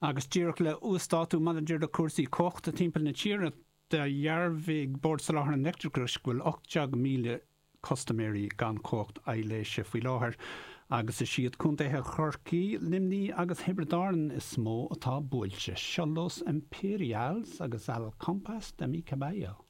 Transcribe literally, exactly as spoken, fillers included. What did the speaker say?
Agus díreach le huasdátú maidir le cúrsaí cumhachta timpeall na tíre dhearbhaigh Bord Soláthair an Leictreachais go bhfuil ocht déag míle custaiméirí gan cumhacht aibhléise faoi láthair, agus is iad contaetha Chorcaí, Luimnigh agus Thiobraid Árann is mó atá buailte. Seo Los Imperials agus Al Compás de mi Caballo.